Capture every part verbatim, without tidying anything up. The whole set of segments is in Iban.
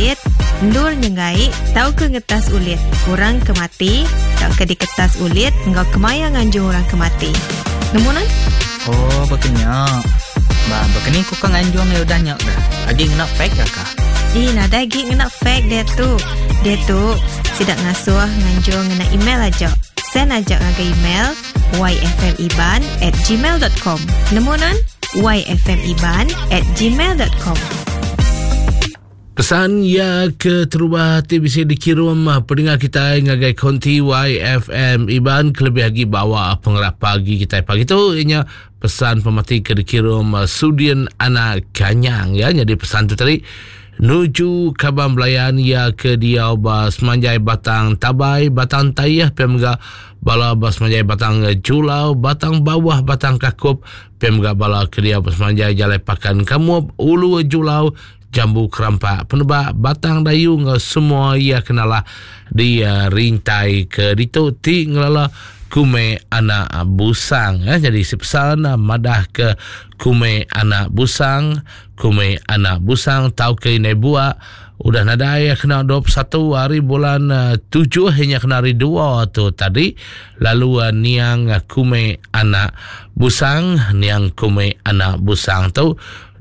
ulit, endur nyenggai tauka ngetas ulit orang ke mati tauka diketas ulit enggau kemaya nganjung orang ke mati. Nemu nan? Oh, bekenya. Ba, bekeni ku ka nganjung ya udah nyak dah. Agi ngena fax kah? Ih, nadai agi ngena fax dia tu. Dia tu sidak ngasuh nganjung ngena email aja. Send aja ngagai email yfmiban at gmail dot com. Nemu nan? yfmiban at gmail dot com. Pesan ya ke terubah T B C dikirim pendengar kita ngagai konti Y F M Iban kelebih lagi bawa pengerap pagi kita pagi tu ianya pesan pemati ke dikirim Sudin Anak Kanyang ya. Jadi pesan tu tadi nuju Kabang Belayan ya ke dia ba Semanjai Batang Tabai Batang Tayah pemga bala ba Semanjai Batang Julau Batang Bawah Batang Kakup pemga bala ke dia ba Semanjai Jalai Pakan Kamup Ulu Julau Jambu Kerampak Penebak Batang Dayu ngau semua ia kenalah di uh, rintai ke ditu ti ngelala Kume Anak Busang eh. Jadi si pesan madah ke Kume Anak Busang, Kume Anak Busang tau ke inai buak udah nadai kena dua puluh satu hari bulan uh, tujuh hingga kena hari dua tu tadi. Lalu uh, niang Kume Anak Busang, niang Kume Anak Busang tu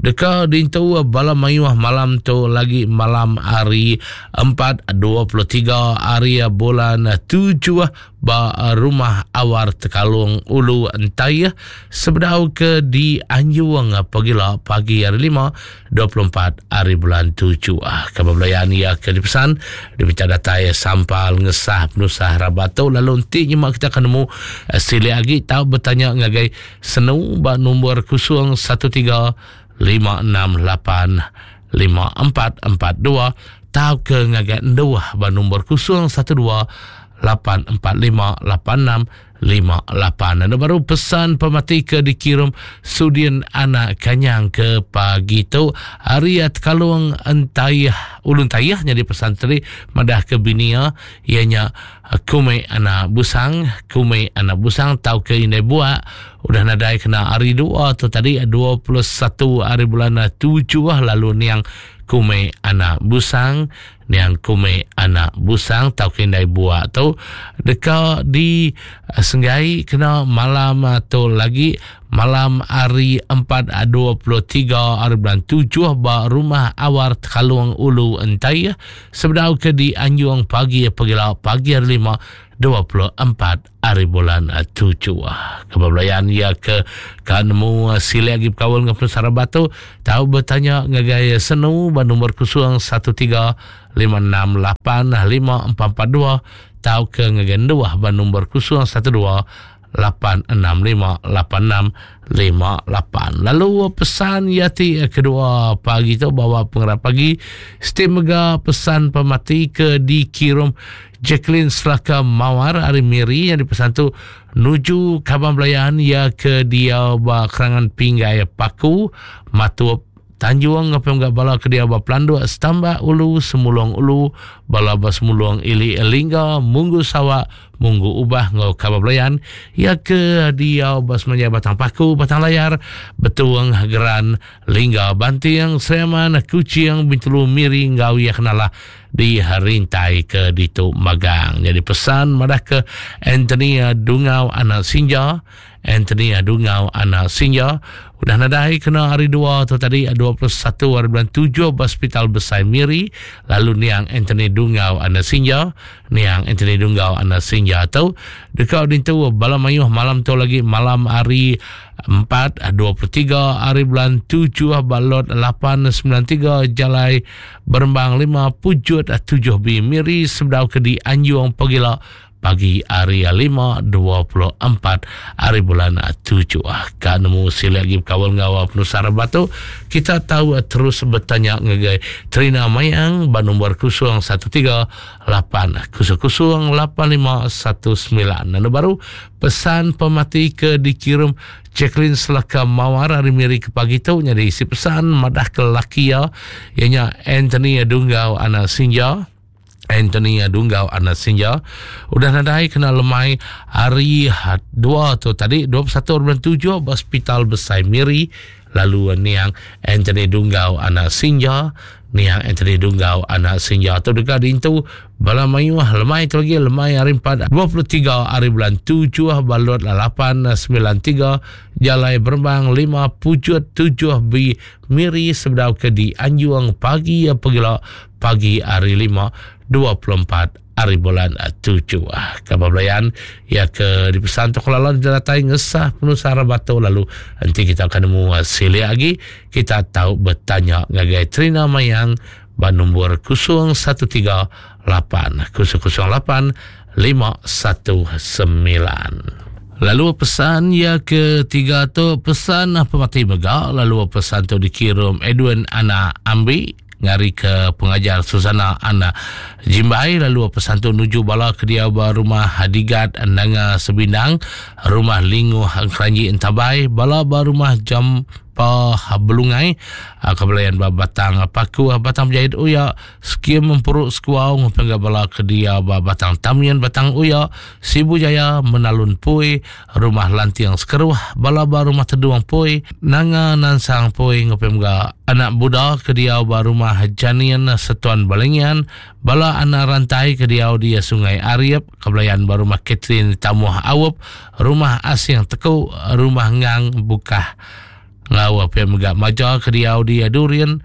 deka dintu bala mayuh malam tu lagi malam hari empat dua puluh tiga hari bulan tujuh ba rumah Awar Tekalung Ulu Entayah sebedau ke di Anjung pagila pagi hari lima dua puluh empat hari bulan tujuh. Ah, khabar belayan ia ke dipesan diminta datai sampal ngesah penusah rabat tu. Lalu nanti nyemak kita akan nemu sili lagi tau bertanya ngagai senu ba nombor kosong satu tiga lima enam lapan lima empat empat dua tau ke ngagai dua ba nombor kosong satu dua lapan empat lima lapan enam lima lapan. Dan baru pesan pemati ke dikirim Sudin Anak Kanyang ke pagi tu hari Tekalung Entayah Ulun Tayah jadi pesan tadi madah ke binia ianya Kume Anak Busang, Kume Anak Busang tau ke indai buak udah nadai kena hari dua tu tadi dua puluh satu hari bulan tujuh lalu niang Kume Anak Busang, niang Kume Anak Busang tau ke indai buak tu deka di senggai kena malam tu lagi malam hari empat dua puluh tiga hari bulan tujuh ba rumah Awar Tekalung Ulu Entai sebedau ke di Anjung pagi pagila pagi hari lima dua puluh empat hari bulan tujuh. Kebelayan ia ke kanemu sila lagi berkawal dengan penusara batu tahu bertanya ngagai senu ba nombor kosong satu tiga lima enam lapan lima empat empat dua tahu ke ngagai dua ba nombor kosong satu dua lapan enam lima lapan enam lima lapan. Lalu pesan yati kedua pagi tu bawa pengerap pagi setiap mega pesan pemati ke dikirim Jacqueline Selaka Mawar hari Miri yang dipesan tu nuju Kabang Belayan ya ke dia ba kerangan Pinggai Paku Matup Tanjung ngapa enggak bala ke dia ba Pelanduk Setambak Ulu Semulung Ulu bala ba Semulung Ili Lingga Munggu Sawak Munggu Ubah ngau Kabang Belayan ya ke dia ba Semenjak Batang Paku Batang Layar Betuang Geran Lingga Banting Sleman Kuching Bintulu Miri ngau ya kenalah di rintai ke ditu magang. Jadi pesan madah ke Anthony Dungau Anak Sinja, Anthony Dungau Anak Sinja udah nadai kena hari dua tu tadi dua puluh satu hari bulan tujuh Hospital Besar Miri. Lalu niang Anthony Dungau Anak Sinja, niang Anthony Dungau Anak Sinja tu dekat dintu bala mayuh malam tu lagi malam hari empat dua puluh tiga hari bulan tujuh balot lapan sembilan tiga Jalai Berembang lima Pujut tujuh B Miri sebedau ke di Anjung Pagila pagi hari lima dua puluh empat hari bulan tujuh. Kan nemu sila lagi berkawal ngawa penusara batu kita tahu terus bertanya ngagai Trina Mayang ba nombor kosong satu tiga lapan kosong kosong lapan lima satu sembilan. Dan baru pesan pemati ke dikirim Jacqueline Selaka Mawar hari Miri ke pagi tu jadi isi pesan madah ke laki ya ianya Anthony Dunggau Anak Sinja, Anthony Dunggau Anak Sinja udah nadai kena lemai hari dua tu tadi dua puluh satu bulan tujuh Hospital Besar Miri. Lalu niang Anthony Dunggau anak Sinja, niang Anthony Dunggau anak Sinja tu deka diintu bala mayuh lemai tu lagi lemai hari empat dua puluh tiga hari bulan tujuh balut lapan sembilan tiga Jalai Berembang lima Pujut tujuh B Miri sebedau ke di Anjung pagi pegila pagi hari lima dua puluh empat hari bulan tujuh. Kabar belayan ya ke dipesan tu kalau datai ngesah penusah batu lalu nanti kita akan nemu silik lagi kita tahu bertanya ngagai Trina Mayang ba nombor kosong satu tiga lapan kosong kosong lapan lima satu sembilan. Lalu pesan ya ketiga tu pesan pemati mega lalu pesan tu dikirim Edwin anak Ambi ngari ke pengajar Susana anak Jimbai lalu pesan tu nuju bala ke dia ba rumah Hadigat Nanga Sebindang rumah Linguh Keranji Entabai bala ba rumah Jam Pa Belungai kebelayan ba Batang Paku Batang Berjahit Uya skim Mempuruk Sekuau ngepengga bala ke dia ba Batang Tamian Batang Uya Sibu Jaya Menalun Pui rumah Lantiang Sekeruh bala ba rumah Teduang Pui Nanga Nansang Pui ngepengga anak Buddha ke dia ba rumah Janian Setuan Balengian bala anak rantai ke dia di Sungai Ariep kebelayan ba rumah Catherine Tamuh Awup rumah Asing Teku rumah Ngang Bukah ngau apa yang megak maja ke diau di Durian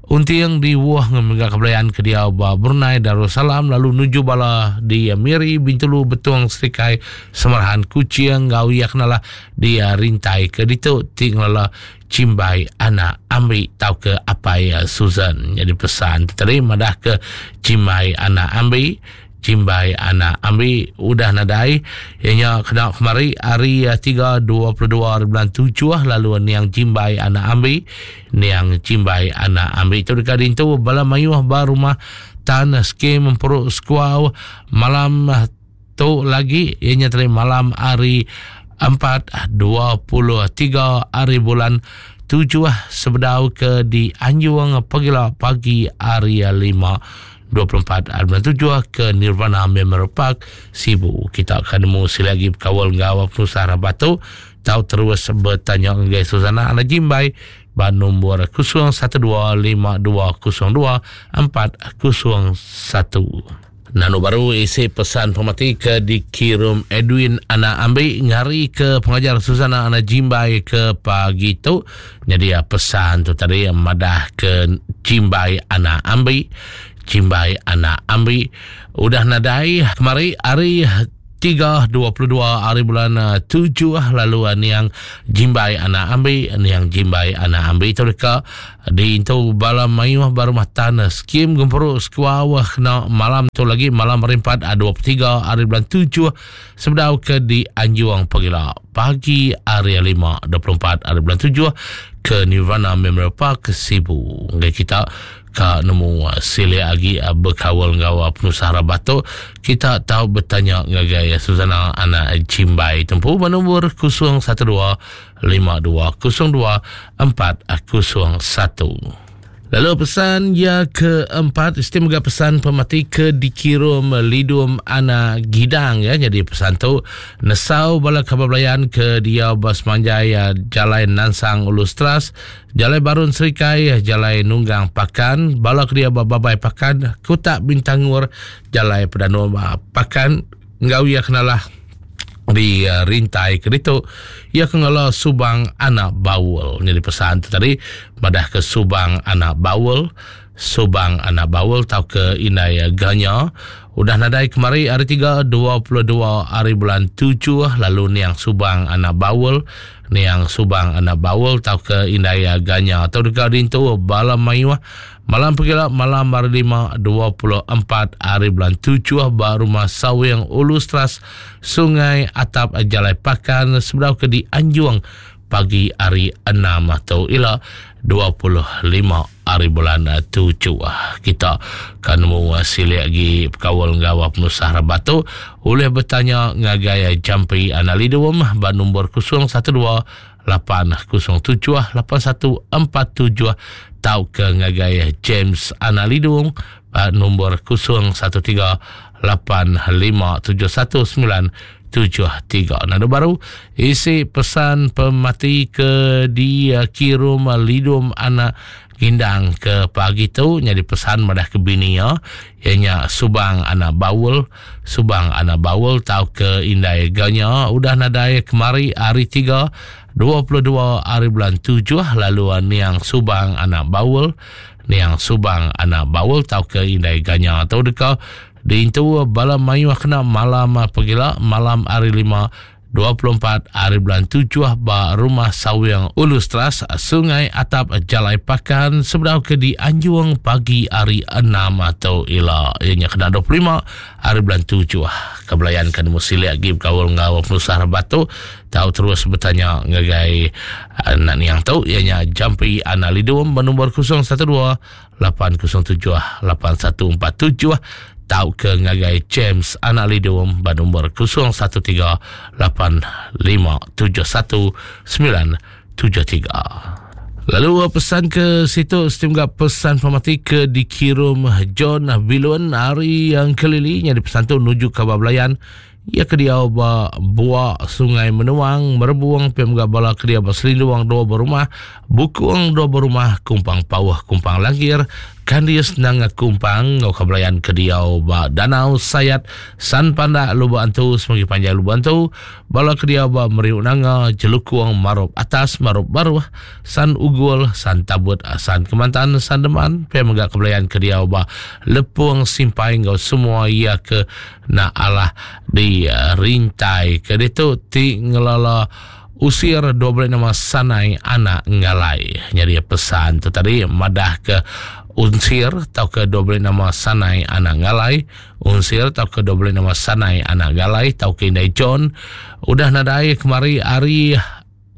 untiang di Wuh megak kebelayan ke diau ba Brunei Darussalam lalu nuju bala di Miri Bintulu Betung Serikai Semarahan Kuching ngau ia kenalah di Rintai ke ditu tinggallah Cimbai anak ambi tau ke apai Susan. Jadi pesan terima dah ke Cimbai anak ambi Cimbai anak ambi udah nadai ianya kena kemari hari tiga dua puluh dua bulan tujuh lalu niang Cimbai anak ambi niang Cimbai anak ambi itu dekat dintu bala mayuh ba rumah tan skim Mempuruk Sekuau malam tu lagi ianya tadi malam hari empat dua puluh tiga hari bulan tujuh sebedau ke di Anjung pagila pagi hari lima dua puluh empat hari bulan tujuh ke Nirvana Memorial Park Sibu. Kita akan nemu selagi berkawal ngawal penusah batu tau terus bertanya dengan Susana Ana Jimbai ba nombor kosong satu dua lima dua kosong dua empat kosong satu. Nanu baru isi pesan pemati ke dikirim Edwin anak ambi ngari ke pengajar Susana anak Jimbai ke pagi tu. Jadi pesan tu tadi madah ke Jimbai anak ambi Cimbai anak ambi udah nadai kemari hari tiga dua puluh dua hari bulan tujuh lalu niang Jimbai anak ambi niang Jimbai anak ambi itu dekat di itu bala mayuh baru matan skim gempuruk sekuau kena malam tu lagi malam hari empat dua puluh tiga hari bulan tujuh sebedau ke di Anjuang pagila pagi hari lima dua puluh empat hari bulan tujuh ke Nirvana Memorial Park Sibu. Okay, kita ka nemu silik lagi berkawal ngau penusah batu kita tahu bertanya ngagai Susana anak Cimbai tempuh nombor kosong satu dua lima dua kosong dua empat kosong satu. Lalu pesan ya keempat istimewa pesan pemati ke dikirim Lidum anak Gidang ya. Jadi pesan tu nesau bala khabar belayan ke dia bas manjai ya, Jalai Nansang Ulus Teras, Jalai Barun Serikai, Jalai Nunggang Pakan, bala ke dia babai Pakan, Kutak Bintangur, Jalai Pedanu Pakan, ngau ya kenalah di uh, rintai kerito ia kengala Subang anak Bawul. Jadi pesan tu tadi madah ke Subang anak Bawul, Subang anak Bawul tau ke Inai Ganya udah nadai kemari hari tiga dua puluh dua hari bulan tujuh lalu niang Subang anak Bawul, niang Subang anak Bawul tau ke Inai Ganya atau dekat dintu bala mayuh malam pergilap malam hari lima dua puluh empat hari bulan tujuh ba rumah Sawing Ulu Stras Sungai Atap Jalai Pakan sebelah ke di Anjung pagi hari enam atau ila dua puluh lima hari bulan tujuh. Kita kan nemu silik lagi kawal ngawal penusah batu boleh bertanya ngagai Jampi Analidum ba nombor kosong satu dua lapan kosong tujuh lapan satu empat tujuh tau ke ngagai James Analidung nombor kosong satu tiga lapan lima tujuh satu sembilan tujuh tiga. Nada baru isi pesan pemati ke dikirum Lidum anak Gindang ke pagi tu jadi pesan madah ke bini ya ianya Subang anak Baul. Subang anak Baul tau ke indai ganya udah nadai kemari hari tiga dua puluh dua hari bulan tujuh lalu niang Subang anak Baul. Niang Subang anak Baul tau ke indai ganya tau deka diintu bala mayuh kena malam pegila malam hari lima dua puluh empat hari bulan tujuh ba rumah Sawing Ulustras Sungai Atap Jalai Pakan sebedau ke di Anjung pagi hari enam atau ila ianya kena dua puluh lima hari bulan tujuh. Kebelayan kan musilik lagi berkaul ngau penusah batu tau terus bertanya ngagai anak niang tu ianya Jampi Anak Lidum bernombor kosong satu dua lapan kosong tujuh lapan satu empat tujuh tau ke ngagai James Anak Lidum bernombor kosong satu tiga lapan lima tujuh satu sembilan tujuh tiga. Lalu pesan ke situ setingga pesan pemati ke dikirum John Bilun hari yang kelilinya di pesan tu menuju ke Belayan ia ke dia ba buak Sungai Menuang Merebuang pemga bala ke dia ba Selinduang dua berumah Bukuang dua berumah Kumpang Pauh Kumpang Langkir Kandis Nanga Kumpang ngau kabelayan ke dia ba Danau Sayat San Pandak Lubuk Antu Semagi Panjang Lubuk Antu bala ke dia ba Meriuk Nanga Jelukuang Marup Atas Marup Baruh San Ugul San Tabut San Kemantan San Deman pemga kabelayan ke dia ba Lepung Simpai ngau semua ia ke nak alah di rintai ke ditu ti ngelala usir dua belas nama Sanai anak Ngalai. Jadi pesan tu tadi madah ke unsir tau ke dua belas nama Sanai anak Ngalai, unsir tau ke dua belas nama Sanai anak Ngalai tau ke Indai John udah nadai kemari hari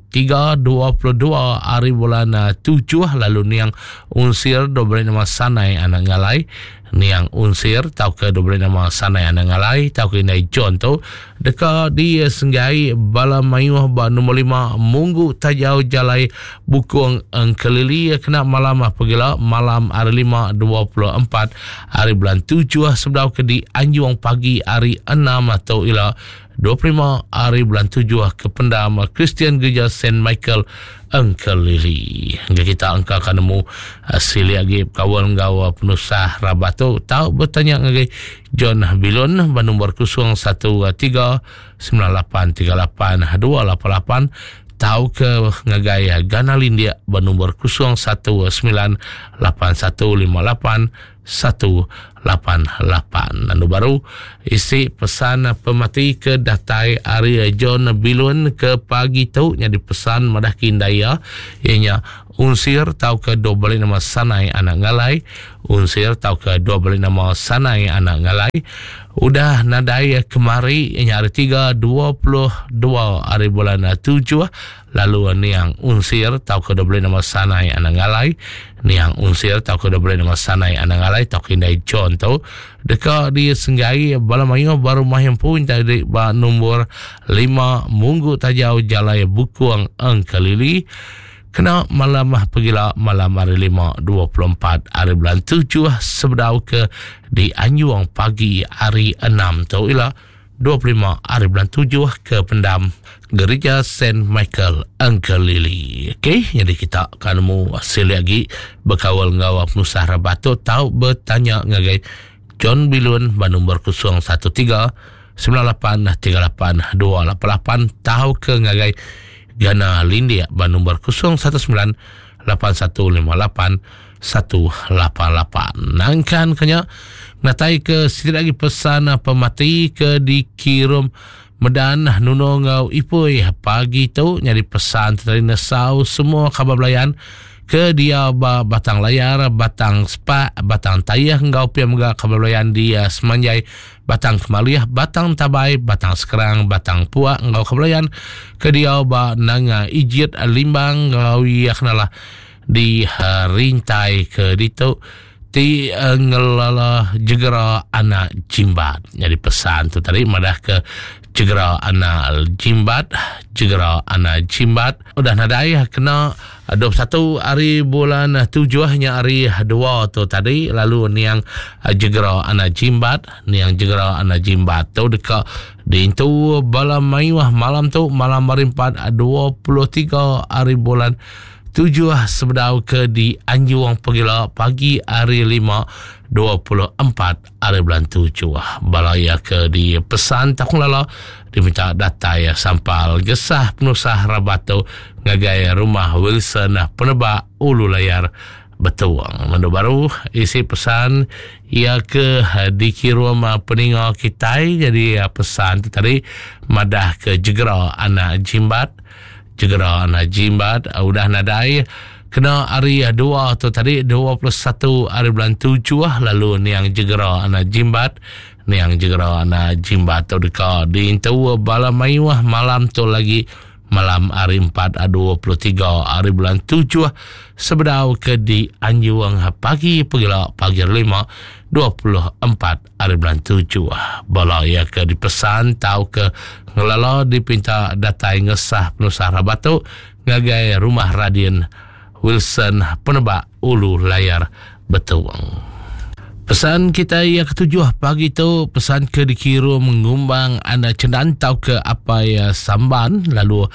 tiga dua puluh dua hari bulan tujuh lalu niang unsir dua belas nama Sanai anak Ngalai, niang unsir tau ke dua belas nama Sanai anak Ngalai tau ke Indai John tu deka di senggai bala mayuh ba nombor lima Munggu Tajau Jalai Bukung Engkelili kena malam pegila malam hari lima dua puluh empat hari bulan tujuh sebedau ke di Anjung pagi hari enam atau ila dua puluh lima hari bulan tujuh ke pendam Kristian Gereja Saint Michael Engkelili. Hingga kita engka akan nemu sili lagi kawan ngau penusah rabat tu tau bertanya ngagai John Bilun bernombor kosong satu tiga sembilan lapan tiga lapan dua lapan lapan tau ke ngagai Gana Lindia bernombor kosong satu sembilan lapan satu lima lapan satu lapan lapan. Lalu baru isi pesan pemati ke datai Ari John Bilun ke pagi tu nya dipesan madah kindaya ianya unsir tau ke dua belas nama Sanai anak Ngalai, unsir tau ke dua belas nama Sanai anak Ngalai udah nadai kemari ianya hari tiga dua puluh dua hari bulan tujuh lalu niang unsir tau ke dua belas nama Sanai anak Ngalai, niang unsir tau ke dua belas nama Sanai anak Ngalai tau ke Indai John tu deka disenggai bala mayuh baru mahim pun tadi ba nombor lima Munggu Tajau Jalai Bukuang Engkelili kena malam pegila malam hari lima dua puluh empat hari bulan tujuh sebedau ke di Anjuang pagi hari enam tu ila dua puluh lima hari bulan tujuh ke pendam Gereja Saint Michael Engkelili. Okey, jadi kita akan nemu hasil lagi berkawal ngau penusah rabat tu tau bertanya ngagai John Bilun ba nombor kosong satu tiga sembilan lapan tiga lapan dua lapan lapan tau ke ngagai Gana Lindia ba nombor kosong satu sembilan lapan satu lima lapan satu lapan lapan. Nangkan kenya natai ke sikit lagi pesan pemati ke dikirim Medan Nuno ngau Ipoi pagi tu nyari pesan tadi nesau semua khabar belayan ke dia ba Batang Layar, Batang Sepak, Batang Tayah ngau pia mega khabar belayan di uh, Semanjai, Batang Kemaliah, Batang Tabai, Batang Sekerang, Batang Puak ngau khabar belayan ke dia ba Nanga Ijit Limbang ngau ia kenalah di uh, rintai ke ditu ti uh, ngelala jegera anak jimbat. Jadi pesan tu tadi madah ke jegera anak jimbat, jegera anak jimbat udah nadai kena dua puluh satu hari bulan tujuh nya hari dua tu tadi lalu niang Jegera anak Jimbat niang Jegera anak Jimbat tu deka diintu bala mayuh malam tu malam hari empat dua puluh tiga hari bulan tujuh sebedau ke di Anjung pegila pagi hari lima dua puluh empat hari bulan tujuh. Bala ia ke di pesan takung lala diminta datai sampal gesah penusah rabat tu ngagai rumah Wilson Penebak Ulu Layar Betuang. Mandu baru isi pesan ia ke dikirum peninga kitai jadi pesan tu tadi madah ke Jegera anak Jimbat Jegera anak Jimbat udah nadai kena hari dua tu tadi dua puluh satu hari bulan tujuh lalu niang Jegera anak Jimbat niang Jegera anak Jimbat tu deka diintu bala mayuh malam tu lagi malam hari empat dua puluh tiga hari bulan tujuh sebedau ke di Anjung pagi pegila pagi lima dua puluh empat hari bulan tujuh. Bala ia ke dipesan tau ke ngelala dipinta datai ngesah penusah rabat tu ngagai rumah Radin Wilson Penebak Ulu Layar Betuang. Pesan kita yang ketujuh pagi tu pesan ke dikirim mengumbang anda cendan tau ke apai samban lalu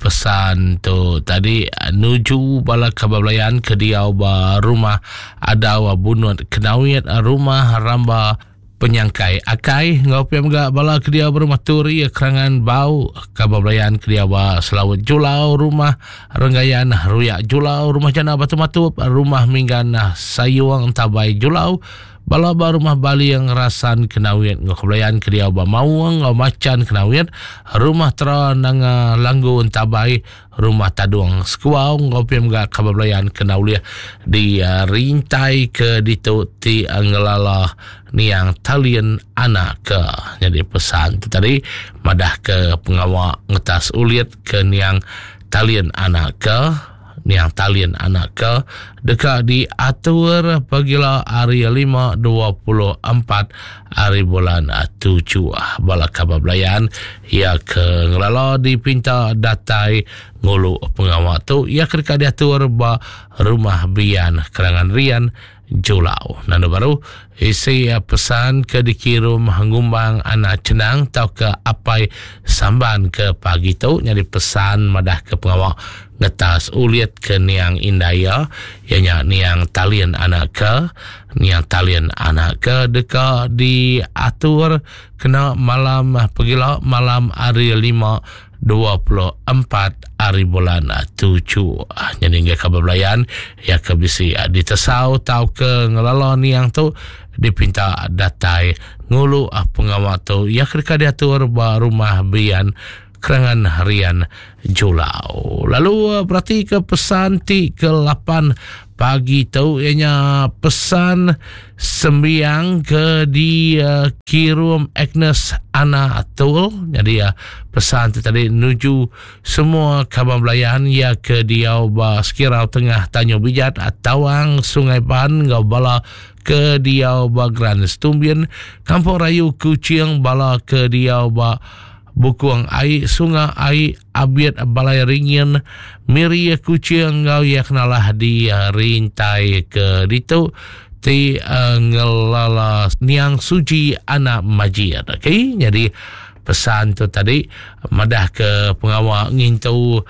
pesan tu tadi nuju bala kabablayan ke diau ba rumah adau bunut kenawit rumah ramba penyangkai akai ngau pia mega bala ke diau berumah turi kerangan bau kabablayan ke diau ba Selawut Julau rumah Renggayan Ruyak Julau rumah Jana Batu Matup rumah Minggan Sayuang Tabai Julau bala ba rumah Baliang Rasan Kenawit ngau kebelayan ke diau ba Maung ngau Macan Kenawit rumah Tera Nanga Langgu Tabai rumah Tadung Sekuau ngau pia mega kabablayan kenaulih di uh, rintai ke ditu ti uh, ngelala niang talian anak ke. Jadi pesan tu tadi madah ke pengawa ngetas ulit ke niang talian anak ke niang talian anak ke deka diatur pagila hari lima dua puluh empat hari bulan tujuh. Bala kabar belayan ia ke ngelala dipinta datai ngulu pengawa tu ia ke deka diatur ba rumah Bian Kerangan Rian Julau. Nanda baru isi pesan ke dikirim ngumbang anak cenang tau ke apai samban ke pagi tu nyadi pesan madah ke pengawa ngetas ulit ke niang indaya ianya niang talian anak ke niang talian anak ke deka diatur kena malam pegila malam hari lima dua puluh empat hari bulan tujuh. Jadi hingga kabar belayan ya ke bisi ditesau tau ke ngelala niang tu dipinta datai ngulu pengawal tu ya ke diatur ba rumah Bian Kerangan Rian Julau. Lalu berarti ke pesan ti ke lapan pagi tu ianya pesan sembiang ke di uh, kirum Agnes Ana Atul. Jadi uh, pesan tu tadi nuju semua kaban belayan ya ke diau ba Sekirau Tengah Tanjung Bijat Tawang Sungai Ban ngau bala ke diau ba Grand Stumbin Kampung Rayu Kuching bala ke diau ba Bukung Ai Sungai Ai Abiat Balai Ringin Miri Kuching ngau ya kenalah di uh, rintai ke ditu ti uh, ngelala niang Suji anak Majid. Okey, jadi pesan tu tadi madah ke pengawal ngintu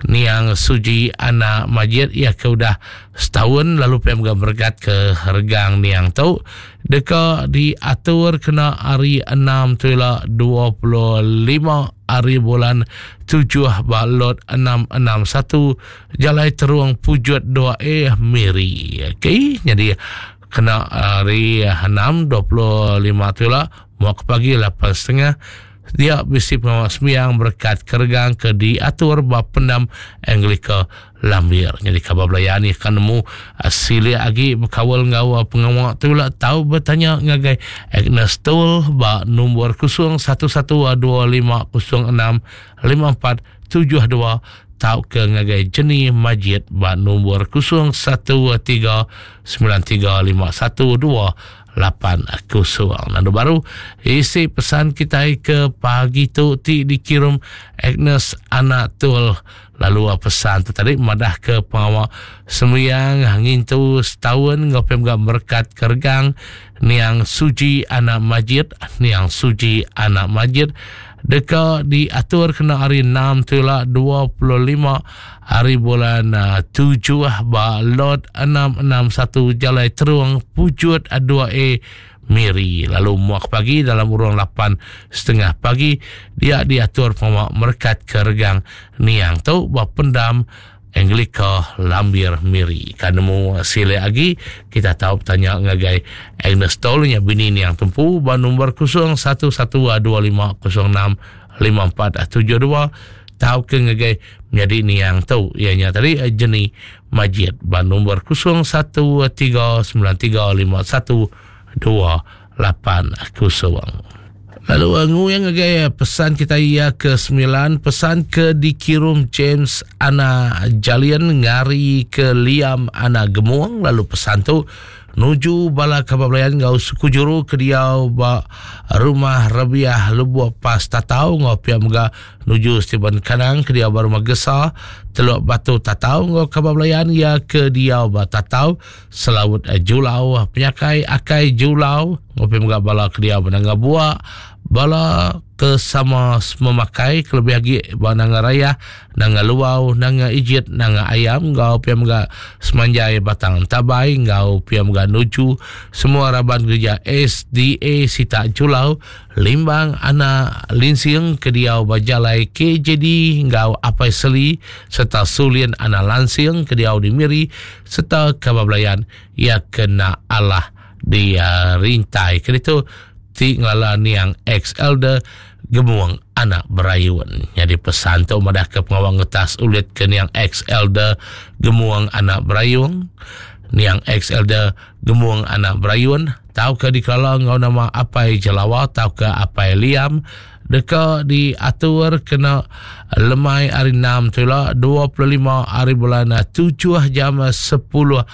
niang Suji anak Majid ya ke udah setahun lalu P M G berkat ke regang niang tu deka diatur kena hari enam tuila dua puluh lima hari bulan tujuh balot enam enam satu Jalai Terung Pujut dua A Miri. Okey, jadi kena hari enam dua puluh lima tuila muak pagi lapan setengah dia bisi pengawal sembiang berkat keregang ke diatur ba pendam Anglika Lambir. Jadi khabar belayan ni kan nemu silia lagi berkawal ngau pengawal tu lah tahu bertanya ngagai Agnes Tul ba nombor kosong satu satu dua lima kosong enam lima empat tujuh dua tau ke ngagai Jenny Majid ba nombor kosong satu tiga sembilan tiga lima satu dua lapan kosong. Lalu baru isi pesan kita ke pagi tu ti dikirim Agnes Anak Tul. Lalu pesan tu tadi madah ke pengawak sembiang ngintu setahun ngopem gak merekat kergang niang Suji Anak Majid, niang Suji Anak Majid deka diatur kena hari enam tula dua puluh lima hari bulan tujuh ba lot enam enam satu Jalai Terung Pujut dua A Miri. Lalu muak pagi dalam urang lapan setengah pagi dia diatur pengawak merekat ke regang niang tu ba pendam Anglika Lambir Miri. Kan nemu sile lagi kita tahu bertanya ngagai Agnes Tol nya bini niang tumpu ba nombor kosong satu satu dua lima kosong enam lima empat tujuh dua tahu ke ngagai menjadi niang tu ianya tadi Jenny Majid ba nombor kosong satu tiga sembilan tiga lima satu dua lapan kosong. Lalu nguyang ngagai pesan kita ia ke sembilan, pesan ke dikirim James Ana Jalian ngari ke Liam Ana Gemuang. Lalu pesan tu nuju bala kabar belayan ngau suku juru ke diau ba rumah Rabiah Lubuk Pas Tatau ngau pia mega nuju Stephen Kanang ke diau ba rumah Gesa Teluk Batu Tatau ngau kabar belayan ia ke diau ba Tatau Selaut Julau Penyakai Akai Julau ngau pia mega bala ke diau ba Nanga Buak bala ke sama memakai kelebih lagi ba Nanga Raya, Nanga Luau, Nanga Ijit, Nanga Ayam ngau pia mega Semanjai Batang Tabai ngau pia mega nuju semua raban gereja S D A Sita Julau Limbang Ana Linsing ke diau ba Jalai K J D ngau Apai Seli serta Sulin Ana Lansing ke diau di Miri serta kabar belayan ia kena Allah di uh, rintai ke itu ti ngelala niang ex-elder Gemuang Anak Berayun. Jadi pesan tu madah ke pengawang ngetas ulit ke niang ex-elder Gemuang Anak Berayun. Niang ex-elder Gemuang Anak Berayun tau ke dikelala ngau nama Apai Jelawa tau ke Apai Liam deka diatur kena lemai hari enam tu lah dua puluh lima hari bulan tujuh jam sepuluh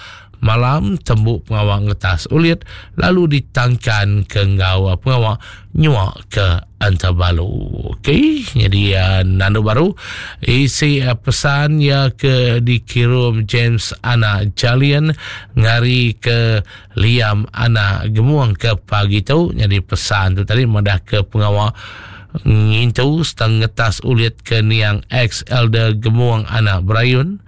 malam tembuk pengawak ngetas ulit lalu ditangkan ke ngau pengawak nyuak ke Antabalu. Okey, jadi uh, nando baru isi uh, pesan ya ke dikirim James Anak Jalian ngari ke Liam Anak Gemuang ke pagi tu. Jadi pesan tu tadi madah ke pengawak ngintu setengah ngetas ulit ke niang ex-elder Gemuang Anak Berayun.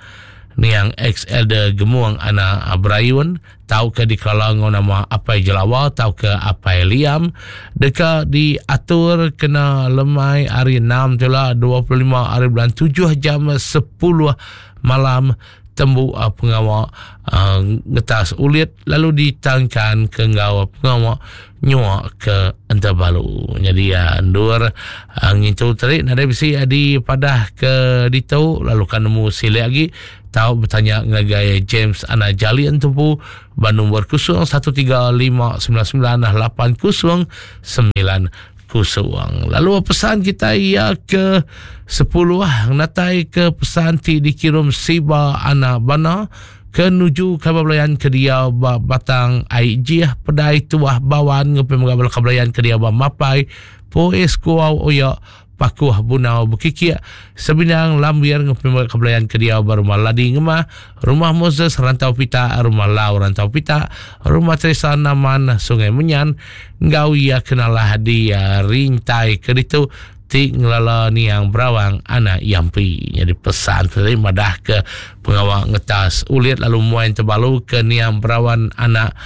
Niang ex-elder Gemuang Anak Berayun tau ke dikelala ngau nama Apai Jelawa tau ke Apai Liam deka diatur kena lemai hari enam tu lah dua puluh lima hari bulan tujuh jam sepuluh malam tembu uh, pengawak uh, ngetas ulit lalu ditangkan ke ngau pengawak nyuak ke Antabalu. Jadi uh, ndur uh, ngintu terik nadai bisi uh, di padah ke ditu lalu kan nemu silik lagi tau bertanya ngagai James Anak Jalian tumpu ba nombor kosong satu tiga lima sembilan sembilan lapan kosong sembilan kosong. Lalu pesan kita ia ke sepuluh natai ke pesan ti dikirim Siba Anak Bana ke nuju kabar belayan ke dia ba Batang Ai Jih Pedai Tuah Bawan ngepem gabal kabelayan ke dia ba Mapai Poes Kuau Oya Pakuh Bunau Bekikia Sebinang Lambir ngepem kabelayan ke dia ba Rumah Ladi Ngemah Rumah Moses Rantau Pita Rumah Lau Rantau Pita Rumah Teresa Naman Sungai Menyan ngau ia kenalah di uh, rintai ke ditu ti ngelala niang Berawang Anak Yampi. Jadi pesan tadi madah ke pengawak ngetas ulit lalu muain terbalu ke niang Berawang Anak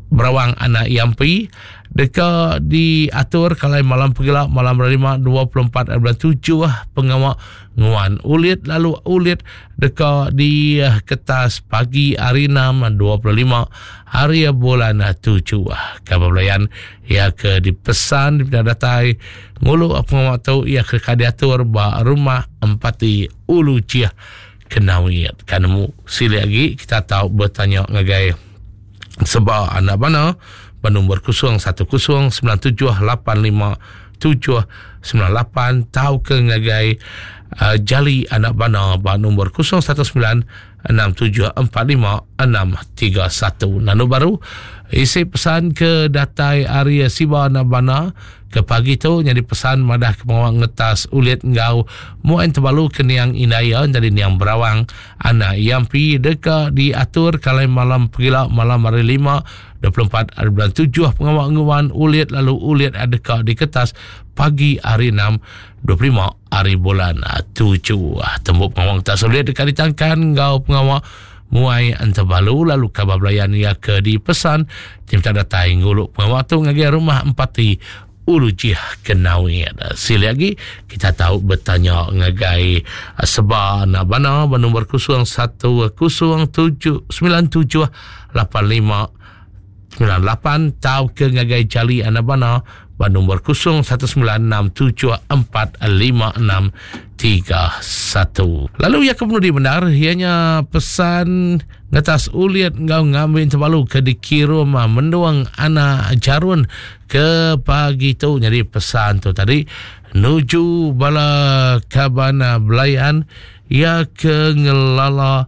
Berawang Anak Yampi deka diatur kalau malam pegila malam lima dua puluh empat bulan tujuh pengawak nguan ulit lalu ulit deka di kertas pagi hari enam dua puluh lima hari bulan tujuh. Kabar belayan ia ke dipesan di datai ngulu pengawak tu ia ke diatur ba rumah empati Ulu Ciah Kenawit. Kanemu sila lagi kita tahu bertanya ngagai sebab anak bana nombor kosong satu kosong sembilan tujuh lapan lima tujuh sembilan lapan tau ke ngagai uh, Jali Anak Bana ba nombor kosong satu sembilan enam tujuh empat lima enam tiga satu. Nanu baru isi pesan ke datai ari Siba Nabana ke pagi tu jadi pesan madah ke pengawa ngetas ulit ngau muan tebalu ke niang Indaya jadi niang Berawang anak Yampi deka diatur kalai malam pegila malam hari lima dua puluh empat hari bulan tujuh pengawa nguan ulit lalu ulit deka diketas pagi hari enam dua puluh lima hari bulan tujuh. Tembuk pengawa ngetas ulit deka ditangkan ngau pengawa muai entebalu lalu kabar belayan ia ke dipesan tim tak datai nguluk pengawa tu ngagai rumah empati Ulu Jih Kenawi. Sili lagi kita tahu bertanya ngagai Seba Nabana bernombor kosong satu kosong tujuh sembilan tujuh lapan lima sembilan lapan tau ke ngagai Jali Anabana bernombor kosong satu sembilan enam tujuh empat lima enam tiga satu. Lalu ia kemudian benar ianya pesan ngetas ulit ngau ngambil terbalu ke dikirum menduang anak jarun ke pagi tu. Jadi pesan tu tadi nuju bala kaban belayan ia ke ngelala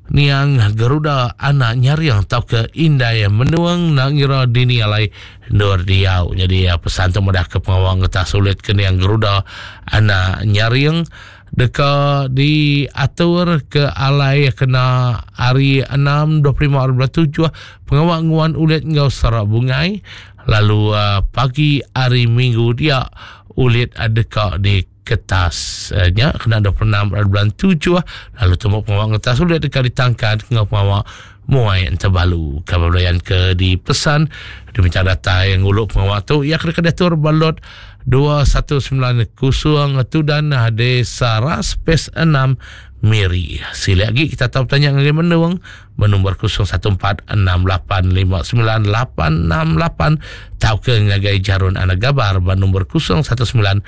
niang Garuda anak nyariang tau ke indai menduang nak ngira dini alai nur diau. Jadi pesan tu mudah ke pengawang ngetas ulit ke niang Garuda anak nyariang deka diatur ke alai kena hari enam dua puluh lima hari bulan tujuh pengawak nguan ulit ngau sarak bungai lalu uh, pagi hari minggu dia ulit deka di ketas uh, nya kena dua puluh enam hari bulan tujuh lalu temu pengawak ngetas ulit deka ditangkan ngau pengawak muai entebalu. Kabar belayan ke dipesan diminta data yang nguluk pengawak tu ia kena diatur balot dua satu sembilan kosong Tudan Desa Ras Phase enam Miri. Sila lagi kita tahu tanya dengan menung bernombor kosong satu empat enam lapan lima sembilan lapan enam lapan tau ke ngagai Jarun Anak Gabar bernombor kosong satu sembilan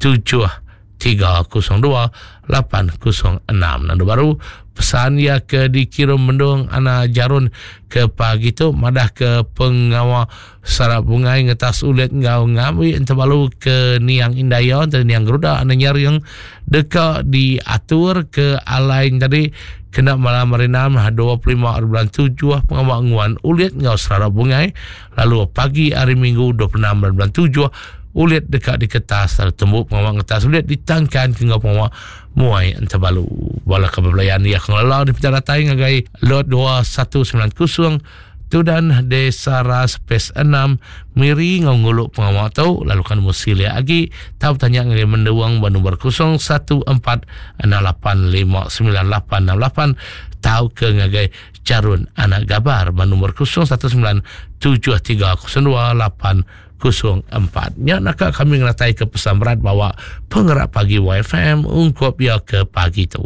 tujuh tiga kosong dua lapan kosong enam. Nandu baru pesan ya ke dikirim mendung anak Jarun ke pagi tu madah ke pengawal sarap bungai ngetas ulit ngau ngambil entebalu ke niang Indaya dan niang Garuda anak nyariang deka diatur ke alain tadi kena malam hari enam dua puluh lima hari bulan tujuh pengawal nguan ulit ngau sarap bungai lalu pagi hari Minggu dua puluh enam hari bulan tujuh ulit dekat di kertas tembuk pengawal ngetas ulit ditangkan ke ngau pengawal muai entebalu. Bala kebelayan ia ngelela di penjara ngagai lot dua satu sembilan kosong Tudan Desa Ras Phase enam Miri ngau nguluk pengawal tu lalu kan mesti lihat lagi tahu tanya ngagai menduang bernombor kosong satu empat enam lapan lima sembilan lapan enam lapan tahu ke ngagai Jarun Anak Gabar bernombor kosong satu sembilan tujuh tiga kosong dua lapan kosong empat. Nya nak kami ngeratai ke pesan berat bawa penggerak pagi Y F M ungkup ya ke pagi tu.